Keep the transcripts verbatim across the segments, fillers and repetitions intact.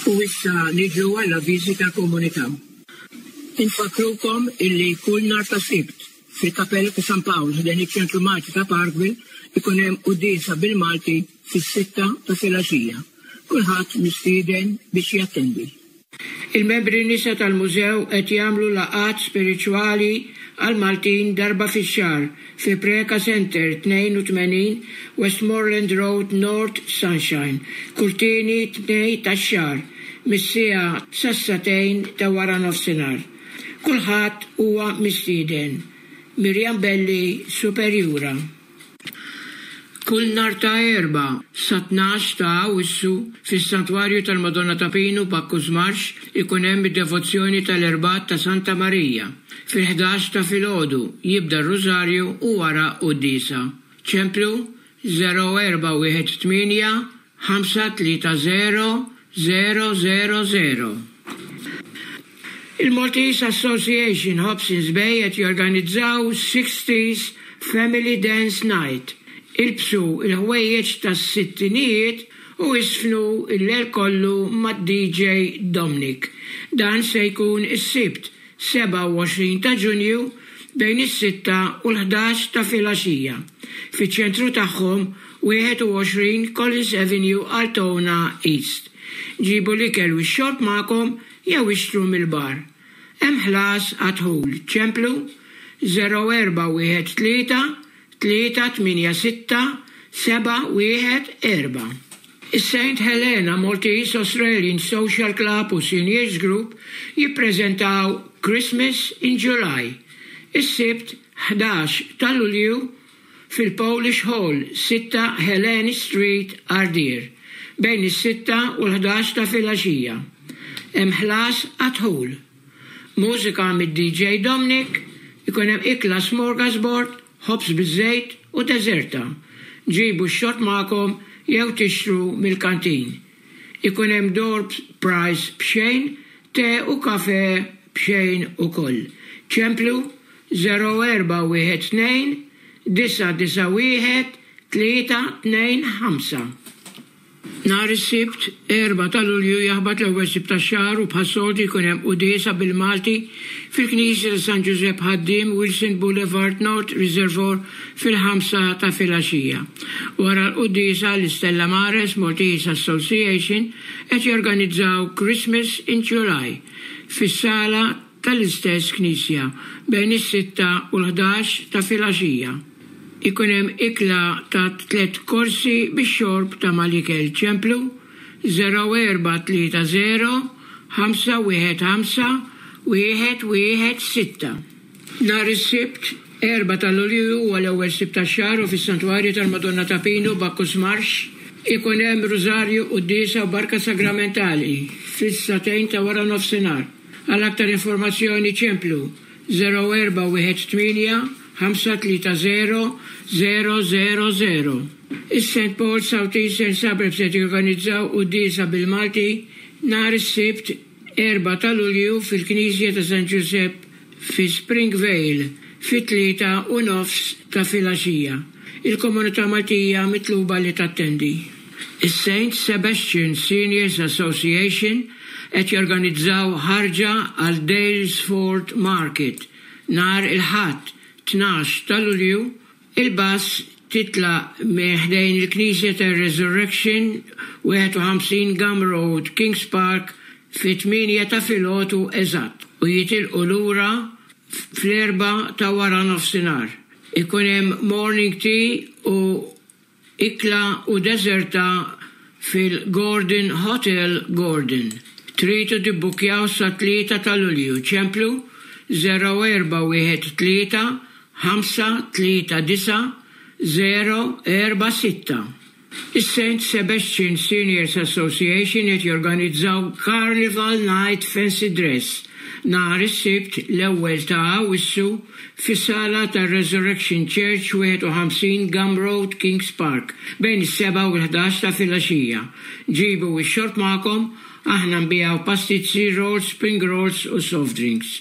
U issa niġu għall-avviżi tal-komunità. Infakkrukom illi kull nhar ta' Sibt fil-Kapella ta' San Pawl ħdejn iċ-Ċentru Malti ta' Parkville ikun hemm quddiesa bil-Malti fis-sitta ta' filgħaxija. Kulħadd mistieden biex jattendi. Il-membri nisa tal-mużew qed jagħmlu laqgħat spiritwali għal Maltin darba fix-xahar fi Preca Center tnejn u tmenin Westmoreland Road, North Sunshine, kull tieni Tnejn tax-xahar mis-siegħa sas-sagħtejn ta' wara nofsinhar. Kulħadd huwa mistieden. Mirjam Belli, Superjura. Kull nhar ta' Erbgħa sa tnax ta' Awwissu fis-Santwarju tal-Madonna ta' Pinu, Bacchus Marsh, ikun hemm id-devozzjoni tal-Erbgħat ta' Santa Marija. Fil-ħdax ta' filgħodu jibda r-Rużarju u wara quddiesa. Ċemplu żero erba' wieħed tmienja ħamsa tlieta żero żero żero żero. Il-Maltese Association Hobsons Bay qed jorganizzaw sixties Family Dance Night. Ilbsu il-ħwejjeġ tas-sittinijiet u iżfnu il-lejl kollu mad-D J Dominic. Dan se jkun is-Sibt sebgħa u għoxrin ta' Ġunju bejn is-sitta u l-ħdax ta' filgħaxija. Fiċ-ċentru tagħhom, wieħed u għoxrin Collins Avenue, Altona East. Ġibu l-ikel u x-xorb magħkom jew ixtru mill-bar. Hemm ħlas għad-dħul. Ċemplu żero erba' wieħed tlieta tlieta tmienja sitta seba' wieħed erba'. Is-Saint Helena Maltese Australian Social Club u Seniors Group jippreżentaw Christmas in July. Is-Sibt ħdax ta' Lulju fil-Polish Hall, sitta Helene Street, Ardeer, bejn is-sitta u l-ħdax ta' filgħaxija. Hemm ħlas għad-dħul. Mużika mid-D J Dominic, ikun hemm ikla smorgasbord, ħobż biż-żejt u deżerta. Ġibu x-xorb magħkom jew tixtru mill-kantin. Ikun hemm door prize b'xejn, te u kafe b'xejn ukoll. Ċemplu żero erba' wieħed tnejn disa' disa' wieħed tlieta tnejn ħamsa. Nhar is-Sibt, erbgħa ta' Lulju, jaħbat l-ewwel Sibt tax-xahar u bħas-soltu jkun hemm quddiesa bil-Malti fil-Knisja ta' San Giuseppe Ħaddiem, Wilson Boulevard, North Reservoir, fil-ħamsa ta' filgħaxija. Wara l-quddiesa, l-Istella Mares Maltese Association qed jorganizzaw Christmas in July fis-sala tal-istess knisja bejn is-sitta u l-ħdax ta' filgħaxija. Ikun hemm ikla ta' tliet korsi bix-xorb ta' mal-ikel. Ċemplu żero erba' tlieta żero ħamsa wieħed ħamsa wieħed wieħed sitta. Nhar is-Sibt erbgħa ta' Lulju huwa l-ewwel Sibt tax-xahar u fis-Santwarju tal-Madonna ta' Pinu, Bacchus Marsh, ikun hemm Rużarju, quddiesa u barka sagramentali fis-sagħtejn ta' wara nofsinhar. Għal aktar informazzjoni ċemplu żero erba' wieħed tmienja ħamsa tlieta żero żero żero żero. Is-Saint Paul South Eastern Suburbs qed jorganizzaw quddiesa bil-Malti nhar is-Sibt erbgħa ta' Lulju fil-Knisja ta' San Giuseppe fi Springvale fit-tlieta u nofs ta' filgħaxija. Il-komunità Maltija mitluba li tattendi. Is-Saint Sebastian Seniors Association qed jorganizzaw ħarġa għal Daylesford Market nhar il-Ħadd tnax ta' Lulju. Il-bus titlaq minn ħdejn il-Knisja ta' Resurrection, wieħed u ħamsin Gum Road, Kings Park, fit-tmienja ta' filgħodu eżatt u jitilqu lura fl-erbgħa ta' wara nofsinhar. Ikun hemm morning tea u ikla u deżerta fil-Gordon Hotel, Gordon. Tridu tibbukjaw sa tlieta ta' Lulju. Ċemplu żero erba' wieħed tlieta ħamsa tlieta disa' żero erba' sitta. Is-Saint Sebastian Seniors Association qed jorganizzaw Carnival Night Fancy Dress nhar is-Sibt l-ewwel ta' Awwissu fis-sala tar-Resurrection Church, wieħed u ħamsin Gum Road, Kings Park, bejn is-sebgħa u l-ħdax ta' filgħaxija. Ġibu x-xorb magħkom, aħna nbigħu pastizzi, rolls, spring rolls u soft drinks.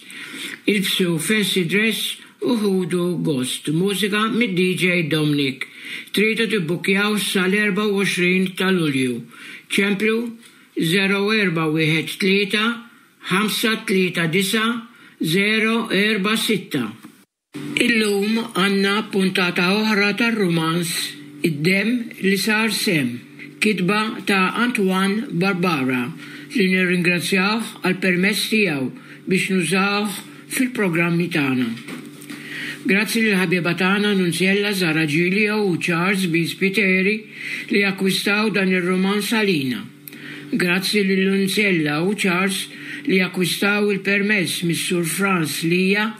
Ilbsu fancy dress u ħudu gost. Mużika mid-D J Dominic. Tridu tibbukjaw sal-erbgħa u għoxrin ta' Lulju. Ċemplu żero erba' wieħed tlieta ħamsa tlieta disa' żero erba' sitta. Illum għandna puntata oħra tar-rumanz Id-Demm li Sar Semm, kitba ta' Antoine Barbara li nirringrazzjawh għall-permess tiegħu biex nużawh fil-programmi tagħna. Grazzi lill-ħabieba tagħna Nunziella Zara Giglio u Charles B. Spiteri li akkwistaw dan ir-rumanz għalina. Grazzi lil Nunziella u Charles li akkwistaw il-permess mis-Sur Frans Lija,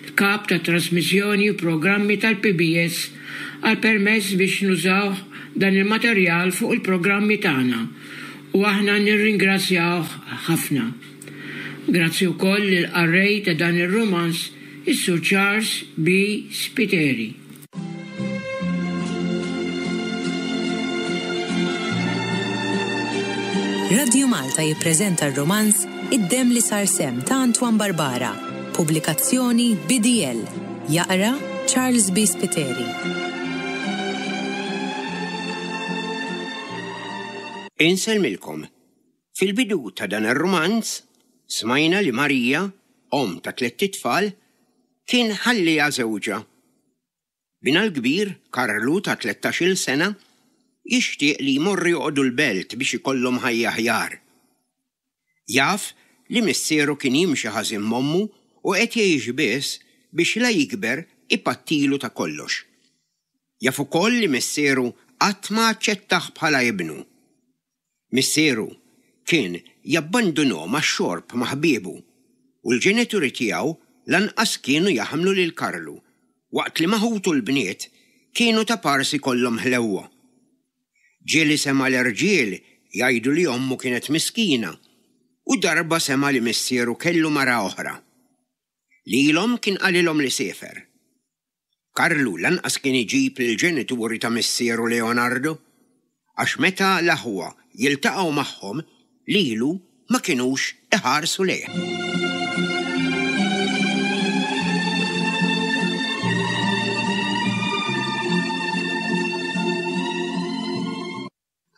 l-Kap tat-Trasmissjoni u Programmi tal-PBS għall-permess biex nużawh dan il-materjal fuq il-programmi tagħna u aħna nirringrazzjawh ħafna. Grazzi wkoll lill-qarrej ta' dan ir-rumanz is-Sur Charles B. Spiteri. Radju Malta jippreżenta r-rumanz Id-Demm li Sar Semm ta' Antoine Barbara, pubblikazzjoni B D L. Jaqra Charles B. Spiteri. Insellmilkom. Fil-bidu ta' dan ir-rumanz smajna li Marija, omm ta' tlett itfal, kien ħalliha żewġha. Binha l-kbir, Karlu ta' tlettax-il sena, jixtieq li jmorru joqogħdu l-belt biex ikollhom ħajja aħjar. Jaf li missieru kien jimxi ħażin m'ommu u qed jgħix biss biex la jikber ipattilu ta' kollox. Jaf ukoll li missieru qatt ma aċċettah bħala ibnu. Missieru kien jabbandunhom għax-xorb ma' ħbiebu u l-ġenituri tiegħu lanqas kienu jaħmlu lil Karlu, waqt li ma' ħutu l-bniet kienu ta' parsi kollhom ħlewwa. Ġieli sema' l-irġiel jgħidu li ommu kienet miskina u darba sema' li missieru kellu mara oħra. Lilhom kien qalilhom li siefer. Karlu lanqas kien iġib lill-ġenituri ta' missieru Leonardo, għax meta l-aħwa jiltaqgħu magħhom lilu ma kinux iħarsu lejh.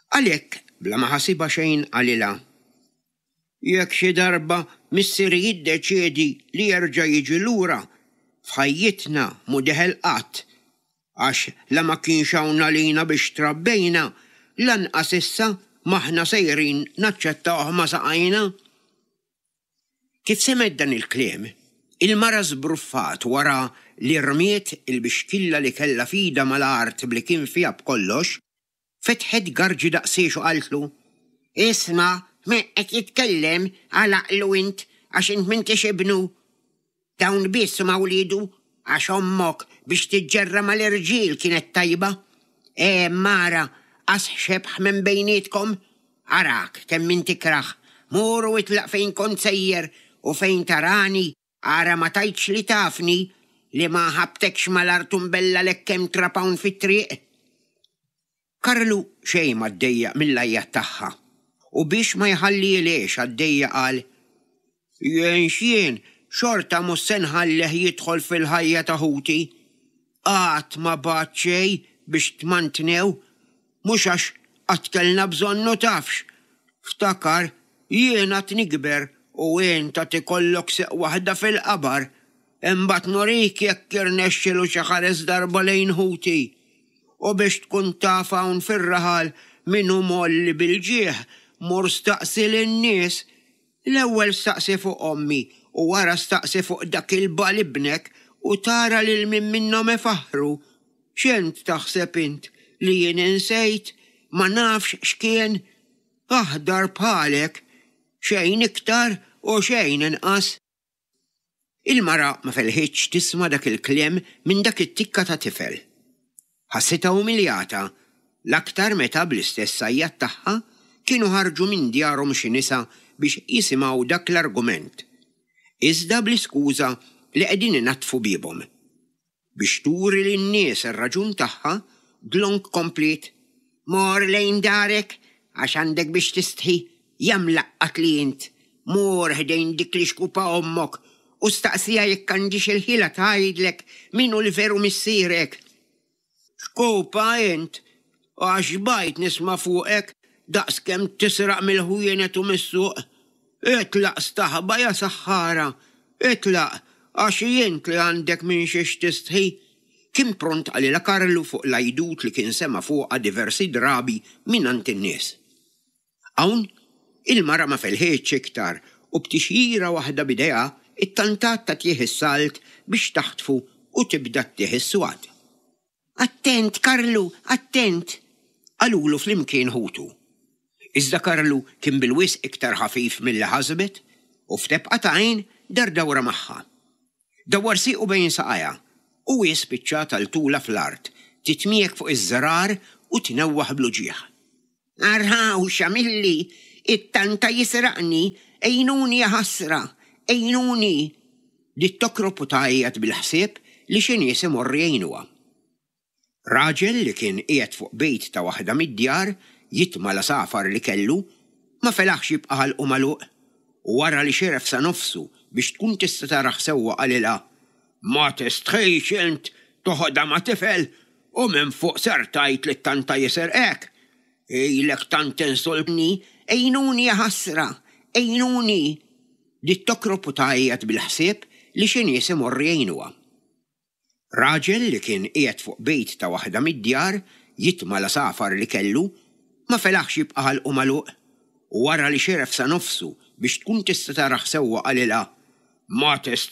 Għalhekk bla ma ħasibha xejn qalilha, jekk xi darba missieri jiddeċiedi li jerġa' jiġi lura, f'ħajjitna mhu deħel qatt, għax la ma kienx hawn għalina biex trabbejna, lanqas issa m'aħna sejrin naċċettawh ma' saqajna. Kif semgħet dan il-kliem, il-mara żbruffat wara li rmiet il-bixkilla li kellha f'idha mal-art bli kien fiha b'kollox, fetħet garġi daqsiex u qaltlu, Isma', min qed jitkellem għalaqlu int għax int m'intix ibnu. Dawn biss huma wliedu għax ommok biex tiġġerra mal-irġiel kienet tajba. E mara, qas xebħ minn bejnietkom, arak kemm int tikrah, mur u itlaq fejn kont sejjer u fejn tarani, ara ma tgħidx li tafni li ma ħabtekx mal-art u mbella lek kemm trab hawn fit-triq. Karlu xejn ma ddejjaq mill-għajjat tagħha u biex ma jħallilix għaddejja qal, Jien x'jien xorta mhux se nħallih jidħol fil-ħajja ta' ħuti. Qatt ma bagħat xejn biex tmantnew, mhux għax qatt kellna bżonnu tafx. Ftakar, jien għad nikber u int għad ikollok seq waħda fil-qabar, imbagħad norik jekk irnexxielu xi ħares darba lejn ħuti. U biex tkun taf hawn fir-raħal min hu molli bil-ġieħ, mur staqsi lin-nies. L-ewwel staqsi fuq ommi u wara staqsi fuq dak il-bal ibnek u tara lil min minnhom ifaħħru. X'int taħseb int li jien insejt ma nafx x'kien? Aħdar bħalek, xejn iktar u xejn inqas. Il-mara ma felħitx tisma' dak il-kliem minn dak it-tikka ta' tifel. Ħassitha umiljata, l-aktar meta bl-istess għajjat tagħha kienu ħarġu minn djarhom xi nisa biex jisimgħu dak l-argument, iżda bl-iskuża li qegħdin inaddfu biebhom. Biex turi lin-nies ir-raġun tagħha, dlonk komplet, Mor lejn darek għax għandek biex tistħi, jam laqqat li int, mor ħdejn dik li xkupa ommok u staqsija jekk għandix il-ħila tgħidlek min hu l-veru missierek. Xkupa int, għax bajt nisma' fuqek daqs kemm tisraq mill-ħwienet u mis-suq. Itlaq staħba ja saħħara, itlaq għax int li għandek minn xiex tistħi. Kien pront qalilha Karlu fuq l-għajdut li kien sema' fuqha diversi drabi mingħand in-nies. Hawn, il-mara ma felħitx iktar u b'tixjira waħda b'idejha ittantat tagħtih is-salt biex taħtfu u tibda ttih is-swat. Attent, Karlu, attent! qalulu flimkien ħutu. Iżda Karlu kien bil-wisq iktar ħafif milli ħasbet u f'tebqa ta' għajn dar dawra magħha. Dawwar siequ bejn saqajha u hi spiċċat għal tulha fl-art, titmiegħek fuq iż-żrar u tnewwaħ bl-uġigħ. Araw x'għamilli, it-tanta jisraqni, għinuni jaħasra, għinuni! Bdiet tokrob u tgħajjat bil-ħsieb li xi nies imorru jgħinuha. Raġel li kien qiegħed fuq bejt ta' waħda mid-djar jitma' l-għasafar li kellu, ma felaħx jibqa' ħalqu magħluq, u wara li xeref sa nofsu biex tkun tista' tarah sewwa qalilha, Ma tistħix int toħodha ma' tifel u minn fuq ser tgħid li t-tanta jisirqek? Ilek tant tinsultni, għinuni jaħasra, għinuni! Bdiet tokrob u tgħajjat bil-ħsieb li xi nies imorru jgħinuha. Raġel li kien qiegħed fuq bejt ta' waħda mid-djar jitma' l-għasafar li kellu, ma felaħx jibqa' ħalqu magħluq, u wara li xeref sa nofsu biex tkun tista' tarah sewwa qalilha, Ma tistħix